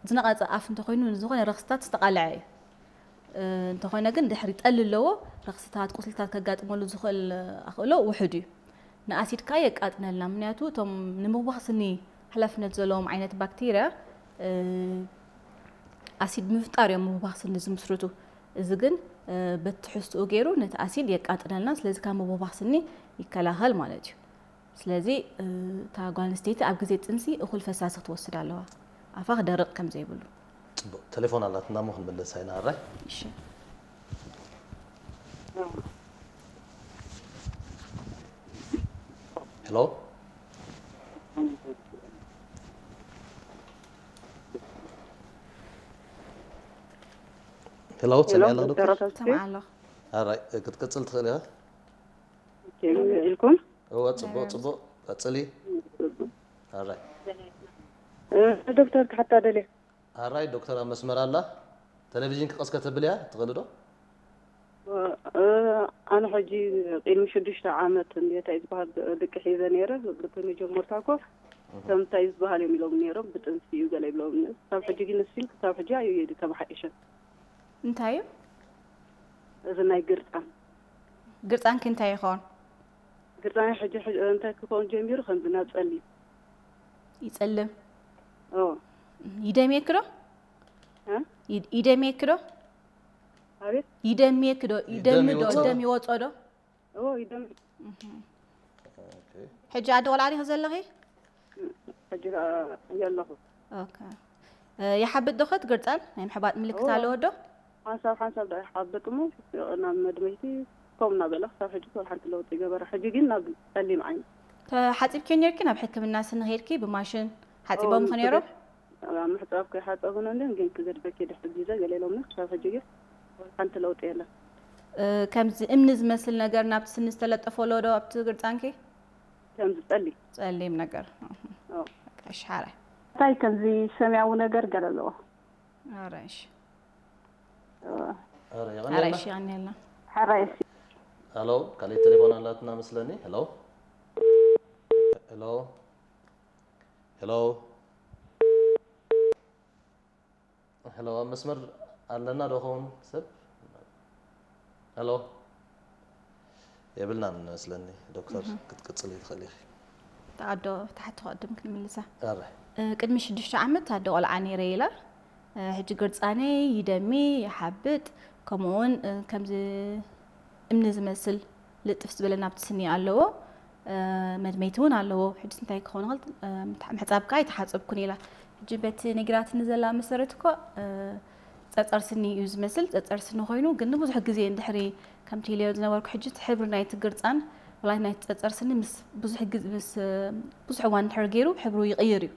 ዝነቐጸ ኣፍ እንተኾይኑ ንዝኾነ ረኽስታት ዝተቓልዐ እዩ። እንተኾነ ግን ድሕሪ ጠሊ ኣለዎ፣ ረኽስታት፣ ቁስልታት ከጋጥመሉ ዝኽእል ኣኽእሎ ውሑድ እዩ። ንኣሲድ ከኣ የቃጥነልና፣ ምኽንያቱ እቶም ንምብባኽ ስኒ ሓላፍነት ዘለዎም ዓይነት ባክቴርያ ኣሲድ ምፍጣር እዮም ምብባኽ ስኒ ዝምስርቱ። እዚ ግን በቲ ትሕዝትኡ ገይሩ ነቲ ኣሲድ የቃጥነልና፣ ስለዚ ካብ ምብባኽ ስኒ ይከላኸል ማለት እዩ። ስለዚ እታ ጓል ኣንስተይቲ ኣብ ግዜ ጥንሲ እኹል ፈሳሲ ክትወስድ ኣለዋ፣ ኣፋ ክደርቕ ከም ዘይብሉ። ፅቡቅ፣ ቴሌፎን ኣላትና እሞ ክንምለሳ ኢና። ኣራይ። እሺ። ሄሎ፣ ሄሎ፣ ትሰምዒ ኣለኺ ዶክተር? ዶክተር ተስፋ። ሰምዓ ኣለኹ። ኣራይ፣ ክትቅፅል ትኽእል ኢኻ። ከመይ ውዒልኩም? እወ፣ ፅቡቅ፣ ፅቡቅ፣ ቀፅሊ። ኣራይ። እ፣ ዶክተር ክሓታ ደልየ። ኣራይ፣ ዶክተር ኣብ መስመር ኣላ። ቴሌቪዥን ክቐስ ከተብልያ ትኽእሊ ዶ? እ፣ ኣነ ሕጂ ቅድሚ ሽዱሽተ ዓመት እንድየ እንታይ ዝበሃል ድቂ ሒዘ ነይረ። ብቲ መጀመርታ እኮ ከም እንታይ ዝበሃል እዮም ኢሎም ነይሮም፣ ብጥንሲ እዩ ገለ ይብሎም። ካብ ሕጂ ግን ስቲል ክሳብ ሕጂ ኣዩ የዲ ተባሓይሸ። እንታይ እዩ? እዚ ናይ ግርፃን ግርፃንኪ እንታይ ይኸውን? ግርፃን ሕጂ ሕጂ እንታይ ክኸውን ጀሚሩ፣ ከምዚ ናብ ጸሊም። ይጸልም። ኦ፣ ይደምየኪ ዶ? እ? ይድ- ይደምየኪ ዶ? ኣቤት። ይደምየኪ ዶ? ይደም ይደሚ ዶ? ይወጽእ ዶ? ደም ይወጾ ዶ? ኦ፣ ይደም። ኦኬ። ሕጂ ኣደ ቆልዓ ዲኺ ዘለኺ? ሕጂ ከኣ የለኹ። ኦኬ። እ፣ ይሓብጥ ዶ ኸ እቲ ግርጻን? ናይ ምሕባጥ ምልክት ኦ። ኣለዎ ዶ? ሓንሳብ ሓንሳብ ዳ ይሓብጥ እሞ ናብ መድመይቲ ከም እናበለ ክሳብ ሕጂ ወላ ሓንቲ ለውጢ ይገበረ። ሕጂ ግን ናብ ጸሊም ዓይኒ። ተሓጺብኪ ነርኪ ናብ ሕክምና ስኒ ኸይድኪ ብማሽን ሓጺቦም ኦ፣ ኸ ነይሮም? ኣብ ምሕጻብ ከይሓጸቡን እንድን ግን ክገድፈኪ ድሕሪ ግዜ ገለ ኢሎምኒ። ክሳብ ሕጂ ግን ወላ ሓንቲ ለውጢ የለን። እ፣ ከምዚ እምኒ ዝመስል ነገር ናብቲ ስኒ ዝተለጠፎ ኣሎ ዶ ኣብቲ ግርጻንኪ? ከምዚ ጸሊም። ጸሊም ነገር። እህ። ኦ። በቃ፣ እሺ፣ ሓራይ። እንታይ ከምዚ ሰማያዊ ነገር ገለ ኣለዎ። ኣራይሽ። ኣረ፣ ኣራይሽ የቐንየልና። ያንየልና። ሓራይሲ ሄሎ፣ ካልእ ቴሌፎን ኣላትና መስለኒ። ሄሎ፣ ሄሎ፣ ሄሎ፣ ሄሎ፣ ኣብ መስመር ኣለና ዶ ኸውን ሰብ? ሄሎ፣ የብልናን መስለኒ። ዶክተር ክትቅጽል ትኽእል ኢኺ። ተኣዶ ተሓቶ ቅድም ክንምልሳ። ኣረ እ፣ ቅድሚ ሽዱሽተ ዓመት ኣደ ቆልዓ ነይረ ኢላ። እ፣ ሕጂ ግርጻነይ ይደሚ፣ ይሓብጥ፣ ከምኡ እውን፣ እ፣ ከምዚ እምኒ ዝመስል ልጥፍ ዝበለ ናብቲ ስኒ ኣለዎ። እ፣ መድመይቲ እውን ኣለዎ። ሕጂ እንታይ ክኸውን ይኽእል? እ፣ ምትሓ-፣ ምሕጻብ ከኣ ኣይተሓጸብኩን ኢላ። ሕጂ በቲ ነጊራትኒ ዘላ መሰረት እኮ፣ እ፣ ጸጸር ስኒ እዩ ዝመስል። ጸጸር ስኒ ኮይኑ ግን ንብዙሕ ግዜ እንድሕሪ ከምቲ ኢለዮ ዝነበርኩ ሕጂ እቲ ሕብሪ ናይቲ ግርጻን ወላ ናይቲ ጸጸር ስኒ ምስ ብዙሕ ግዜ፣ ምስ፣ እ፣ ብዙሕ እዋን እንድሕር ገይሩ ሕብሩ ይቕይር እዩ።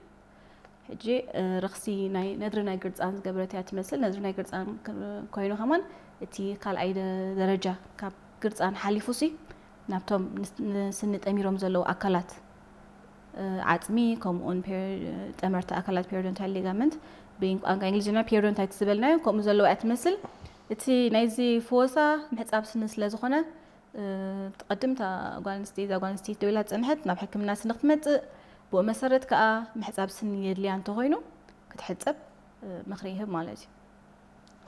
ሕጂ፣ እ፣ ረኽሲ ናይ ነድሪ ናይ ግርጻን ዝገበረት እያ ትመስል። ነድሪ ናይ ግርጻን ክ-፣ ኮይኑ ከማን እቲ ካልኣይ ደ-፣ ደረጃ ካብ ግርጻን ሓሊፉ ሲ ናብቶም ንስ-፣ ንስኒ ጠሚሮም ዘለዉ ኣካላት፣ እ፣ ዓጽሚ፣ ከምኡውን ፔር-፣ ጠመርቲ ኣካላት ፔሪዶንታይል ሊጋመንት ብቋንቋ እንግሊዝኛ ፔሪዶንታይት ዝበልናዮ ከምኡ ዘለዉ እያ ትመስል። እቲ ናይዚ ፍወሳ ምሕጻብ ስኒ ስለ ዝኾነ፣ እ፣ ትቐድም እታ ጓል ኣንስተይቲ፣ እዛ ጓል ኣንስተይቲ ደው ኢላ ዝጸንሐት ናብ ሕክምና ስኒ ክትመጽእ፣ ብኡ መሰረት ከኣ ምሕጻብ ስኒ የድልያ እንተኾይኑ ክትሕጸብ፣ እ፣ ምኽሪ ይህብ ማለት እዩ።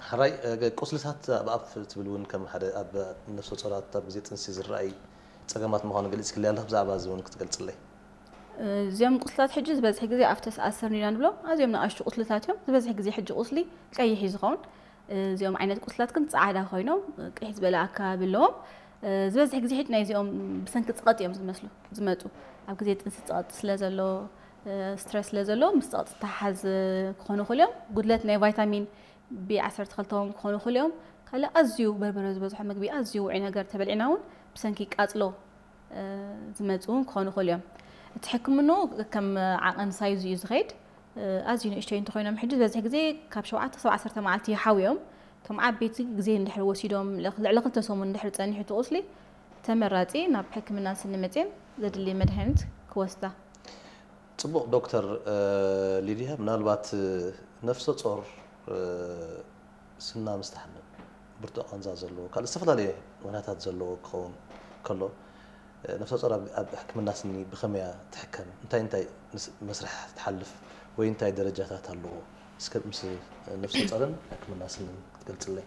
ሕራይ፣ እ፣ ቁስልታት ኣብ ኣፍ ትብል እውን ከም ሓደ ኣብ ነፍሰ ጾራት ኣብ ግዜ ጥንሲ ዝረኣይ ጸገማት ምዃኑ ገሊጽክለይ ኣለኽ። ብዛዕባ እዚ እውን ክትገልጽለይ። እ፣ እዚኦም ቁስልታት ሕጂ ዝበዝሕ ግዜ ኣብቲ ኣሰርኒና ንብሎም ኣዝዮም ንኣሽቱ ቁስልታት እዮም። ዝበዝሕ ግዜ ሕጂ ቁስሊ ቀይሕ እዩ ዝኸውን። እ፣ እዚኦም ዓይነት ቁስልታት ግን ጻዕዳ ኮይኖም፣ እ፣ ቅይሕ ዝበለ ኣከባቢ ኣለዎም። እ፣ ዝበዝሕ ግዜ ሕጂ ናይ እዚኦም ብሰንኪ ጸቕጢ እዮም ዝመስሉ፣ ዝመጹ። ኣብ ግዜ ጥንሲ ጸቕጢ ስለ ዘሎ፣ እ፣ ስትረስ ስለ ዘሎ ምስ ጸቕጢ ዝተሓሓዝ ክኾኑ ይኽእሉ እዮም። ጉድለት ናይ ቫይታሚን ቢ ዓሰርተ ክልተ እውን ክኾኑ ይኽእሉ እዮም። ካልእ ኣዝዩ በርበረ ዝበዝሖ ምግቢ፣ ኣዝዩ ውዑይ ነገር ተበሊዕና እውን ብሰንኪ ቃጽሎ፣ እ፣ ዝመጹ እውን ክኾኑ ይኽእሉ እዮም። እቲ ሕክምንኡ ከም ዓቐን ሳይዙ እዩ ዝኸይድ። እ፣ ኣዝዩ ንእሽተይ እንተኾይኖም ሕጂ ዝበዝሕ ግዜ ካብ ሸውዓተ ክሳብ ዓሰርተ መዓልቲ ይሓውዮም። እቶም ዓበይቲ ግዜ እንድሕር ወሲዶም ልዕሊ ክልተ ሰሙን እንድሕር ጸኒሑ እቲ ቁስሊ ተመራጺ ናብ ሕክምና ስኒ መጺኦም ዘድሊ መድሃኒት ክወስዳ። ጽቡቕ ዶክተር፣ እ፣ ሊድያ፣ ምናልባት፣ እ፣ ነፍሰ ጾር፣ እ፣ ስና ምስ ትሓምም፣ ብርቱዕ ቃንዛ ዘለዎ፣ ካልእ ዝተፈላለየ ምኽንያታት ዘለዎ ክኸውን ከሎ፣ እ፣ ነፍሰ ጾር ኣብ፣ ኣብ ሕክምና ስኒ ብኸመይ እያ ትሕከም? እንታይ እንታይ ምስ-፣ መስርሕ ትሓልፍ ወይ እንታይ ደረጃታት ኣለዎ? እስከ ምስ ነፍሰ ጾርን ሕክምና ስንን ክትገልጽለይ።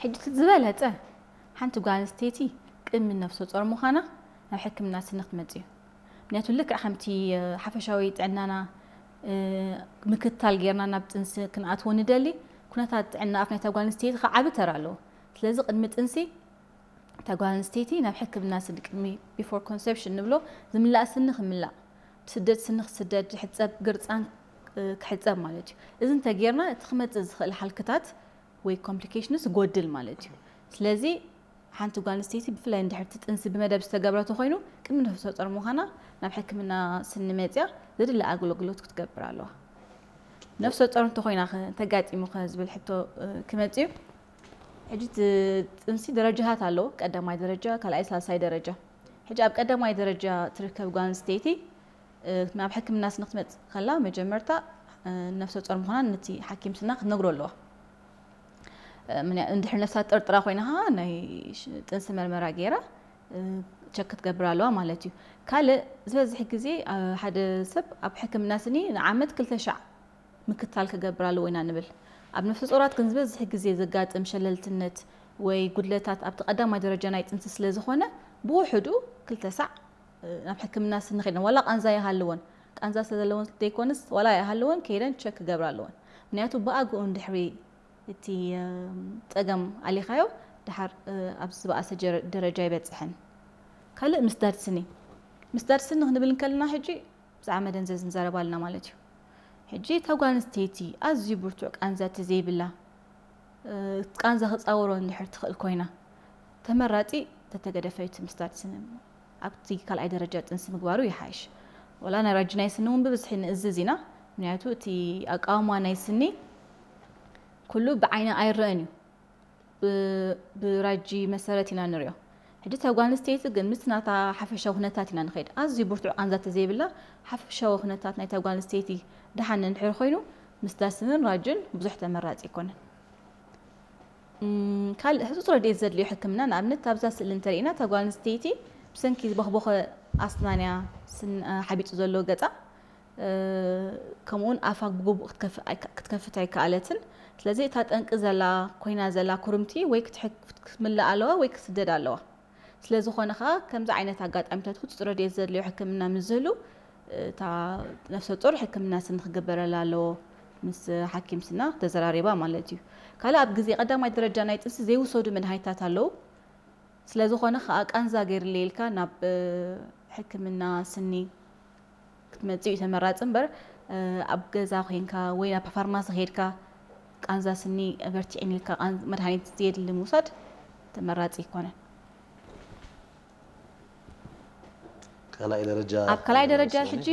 ሕጂ እቲ ዝበለጸ ሓንቲ ጓል ኣንስተይቲ ቅድሚ ነፍሰ ጾር ምዃና ናብ ሕክምና ስኒ ክትመጽእ እዩ። ምክንያቱ ልክዕ ከምቲ ሓፈሻዊ ጥዕናና ምክትታል ጌርና ናብ ጥንሲ ክንኣትዎ ንደሊ፣ ኩነታት ጥዕና ኣፍ ናይታ ጓል ኣንስተይቲ ከዓ ዓቢ ተራ ኣለዎ። ስለዚ ቅድሚ ጥንሲ እታ ጓል ኣንስተይቲ ናብ ሕክምና ስኒ ቅድሚ before conception ንብሎ ዝምላእ ስኒ ክምላእ፣ ብስደድ ስኒ ክስደድ፣ ዝሕፀብ ግርፃን ክሕፀብ ማለት እዩ። እዚ እንተጌርና እቲ ክመፅእ ዝኽእል ሓልክታት ወይ ኮምፕሊኬሽንስ ይጎድል ማለት እዩ። ስለዚ ሓንቲ ጓል ኣንስተይቲ ብፍላይ እንድሕር እቲ ጥንሲ ብመደብ ዝተገብረቶ ኮይኑ ቅድሚ ነፍሰ ጾር ምዃና ናብ ሕክምና ስኒ መፅያ ዘድሊ ኣገልግሎት ክትገብር ኣለዋ። ነፍሰ ጾር እንተኮይና ተጋጢሙ ዝብል ሕቶ ክመፅእ እዩ። ሕጂ ጥንሲ ደረጃታት ኣለዎ። ቀዳማይ ደረጃ፣ ካልኣይ፣ ሳልሳይ ደረጃ። ሕጂ ኣብ ቀዳማይ ደረጃ ትርከብ ጓል ኣንስተይቲ ናብ ሕክምና ስኒ ክትመፅእ ከላ መጀመርታ ነፍሰ ጾር ምዃና ነቲ ሓኪም ስና ክትነግሮ ኣለዋ። እንድሕር ነፍሳ ጠርጥራ ኮይና ናይ ጥንሲ መርመራ ገይራ ቸክ ክትገብር ኣለዋ ማለት እዩ። ካልእ ዝበዝሕ ግዜ ሓደ ሰብ ኣብ ሕክምና ስኒ ንዓመት ክልተ ሻዕ ምክታል ክገብር ኣለዎ ኢና ንብል። ኣብ ነፍሰ ጾራት ግን ዝበዝሕ ግዜ ዘጋጥም ሸለልትነት ወይ ጉድለታት ኣብቲ ቀዳማይ ደረጃ ናይ ጥንሲ ስለ ዝኾነ ብውሕዱ ክልተ ሳዕ ናብ ሕክምና ስኒ ከይደን ዋላ ቃንዛ ይሃልወን ቃንዛ ስለዘለወን ዘይኮንስ ዋላ ይሃልወን ከይደን ቸክ ክገብራ ኣለወን። ምክንያቱ ብኣግኡ እንድሕሪ እቲ ጸገም ኣሊኻዮ ድሓር ኣብ ዝበኣሰ ደረጃ ይበጽሕን። ካልእ ምስዳድ ስኒ ምስዳድ ስኒ ክንብል እንከለና ሕጂ ብዛዕባ መደንዘዝ ንዛረብ ኣለና ማለት እዩ። ሕጂ እታ ጓል ኣንስተይቲ ኣዝዩ ብርቱዕ ቃንዛ ተዘይብላ ቃንዛ ክፃወሮ እንድሕር ትኽእል ኮይና ተመራፂ ተተገደፈ እቲ ምስዳድ ስኒ ኣብቲ ካልኣይ ደረጃ ጥንሲ ምግባሩ ይሓይሽ። ወላ ናይ ራጂ ናይ ስኒ እውን ብብዝሒ ንእዝዝ ኢና። ምክንያቱ እቲ ኣቃውማ ናይ ስኒ ኩሉ ብዓይኒ ኣይረአን እዩ። ብራጂ መሰረት ኢና ንሪኦ። ሕጂ እታ ጓል ኣንስተይቲ ግን ምስቲ ናታ ሓፈሻዊ ኩነታት ኢና ንኸይድ። ኣዝዩ ብርቱዕ ቃንዛ ተዘይብላ ሓፈሻዊ ኩነታት ናይታ ጓል ኣንስተይቲ ደሓን እንድሕር ኮይኑ ምስዳድ ስንን ራጅን ብዙሕ ተመራፂ ኣይኮነን። ካልእ ህፁፅ ረድኤት ዘድልዮ ሕክምና ንኣብነት ኣብዛ ስእሊ እንተሪእና እታ ጓል ኣንስተይቲ ብሰንኪ ዝበኽቦኸ ኣስናንያ ሓቢጡ ዘሎ ገፃ ከምኡውን ኣፋ ብግቡእ ክትከፍት ኣይከኣለትን። ስለዚ እታ ጠንቂ ዘላ ኮይና ዘላ ኩርምቲ ወይ ክትምላእ ኣለዋ ወይ ክትስደድ ኣለዋ። ስለ ዝኾነ ኸዓ ከምዚ ዓይነት ኣጋጣሚታት ህፁፅ ረድኤት ዘድልዮ ሕክምና ምስ ዝህሉ እታ ነፍሰ ጡር ሕክምና ስኒ ክግበረላ ኣለዎ ምስ ሓኪም ስና ተዘራሪባ ማለት እዩ። ካልእ ኣብ ግዜ ቀዳማይ ደረጃ ናይ ጥንሲ ዘይውሰዱ መድሃኒታት ኣለዉ። ስለ ዝኾነ ኸዓ ቃንዛ ገይርለይ ኢልካ ናብ ሕክምና ስኒ ክትመፅእ እዩ ተመራፂ እምበር ኣብ ገዛ ኮይንካ ወይ ናብ ፋርማሲ ከይድካ ቃንዛ ስኒ በርቲዕኒ ኢልካ መድሃኒት ዘየድሊ ምውሳድ ተመራፂ ኣይኮነን። ካልኣይ ደረጃ ኣብ ካልኣይ ደረጃ ሕጂ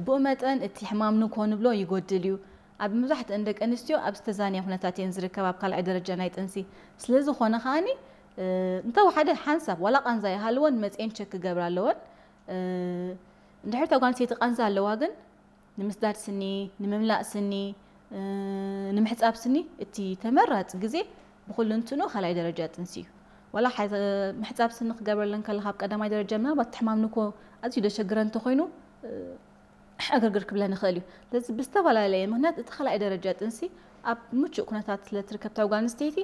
ብኡ መጠን እቲ ሕማም ንኮ ንብሎ ይጎድል እዩ። ኣብ መብዛሕትአን ደቂ ኣንስትዮ ኣብ ዝተዛነየ ኩነታት እየን ዝርከብ ኣብ ካልኣይ ደረጃ ናይ ጥንሲ። ስለ ዝኾነ ከዓኒ እንተወሓደ ሓንሳብ ዋላ ቃንዛ ይሃልወን መፅኤን ቸክ ክገብራ ኣለወን። እንድሕር እታ ጓል ኣንስተይቲ ቃንዛ ኣለዋ ግን ንምስዳድ ስኒ፣ ንምምላእ ስኒ፣ ንምሕፃብ ስኒ እቲ ተመራፂ ግዜ ብኩሉ እንትኑ ካልኣይ ደረጃ ጥንሲ እዩ። ዋላ ምሕፃብ ስኒ ክገብረለን ከለካ ኣብ ቀዳማይ ደረጃ ምናልባት እቲ ሕማም ንኮ ኣዝዩ ደሸግረ እንተኮይኑ ዕግርግር ክብለን ይኽእል እዩ። ስለዚ ብዝተፈላለየ ምክንያት እቲ ካልኣይ ደረጃ ጥንሲ ኣብ ምቹእ ኩነታት ስለ ትርከብ እታ ጓል ኣንስተይቲ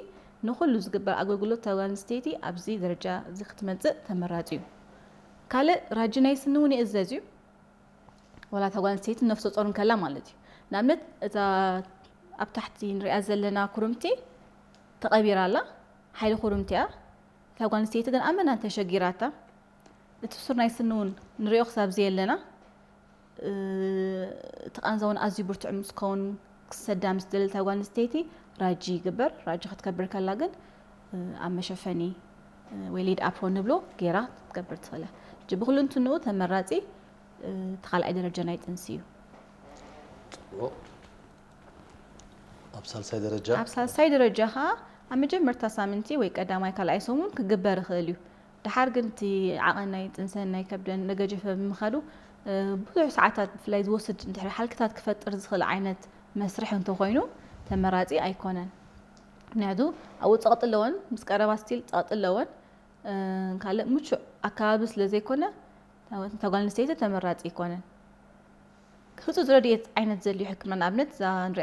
ንኹሉ ዝግበር ኣገልግሎት እታ ጓል ኣንስተይቲ ኣብዚ ደረጃ እዚ ክትመፅእ ተመራፂ እዩ። ካልእ ራጂ ናይ ስኒ እውን ይእዘዝ እዩ። ዋላ እታ ጓል ኣንስተይቲ ነፍሰ ጾር እንከላ ማለት እዩ። ንኣብነት እዛ ኣብ ታሕቲ ንሪኣ ዘለና ኩርምቲ ተቐቢራ ኣላ። ሓይሊ ኩርምቲ እያ። እታ ጓል ኣንስተይቲ ግን ኣመና ተሸጊራታ። እቲ ሱር ናይ ስኒ እውን ንሪኦ ክሳብ ዘየለና እቲ ቃንዛ እውን ኣዝዩ ብርቱዕ ምስ ከውን ክሰዳ ምስ ደለታ ጓል ኣንስተይቲ ራጂ ይግበር። ራጂ ክትከብር ከላ ግን ኣብ መሸፈኒ ወይ ሊድ ኣፕሮን ንብሎ ገይራ ክትገብር ትኽእል እያ። ሕጂ ብኩሉ እንትንኡ ተመራፂ እቲ ካልኣይ ደረጃ ናይ ጥንሲ እዩ። ፅቡቕ። ኣብ ሳልሳይ ደረጃ ኣብ ሳልሳይ ደረጃ ከዓ ኣብ መጀመርታ ሳምንቲ ወይ ቀዳማይ ካልኣይ ሰሙን ክግበር ይኽእል እዩ። ድሓር ግን እቲ ዓቐን ናይ ጥንሰን ናይ ከብደን እናገጀፈ ብምኻዱ ብዙሕ ሰዓታት ብፍላይ ዝወስድ እንድሕር ሓልክታት ክፈጥር ዝኽእል ዓይነት መስርሕ እንተኾይኑ ተመራፂ ኣይኮነን። ምክንያቱ ኣብኡ ፀቕጢ ኣለወን፣ ምስ ቀረባ ስቲል ፀቕጢ ኣለወን። ካልእ ምቹእ ኣከባቢ ስለ ዘይኮነ እታ ጓል ኣንስተይቲ ተመራፂ ኣይኮነን። ህፁፅ ረድኤት ዓይነት ዘድልዮ ሕክምና ንኣብነት እዛ ንሪኣ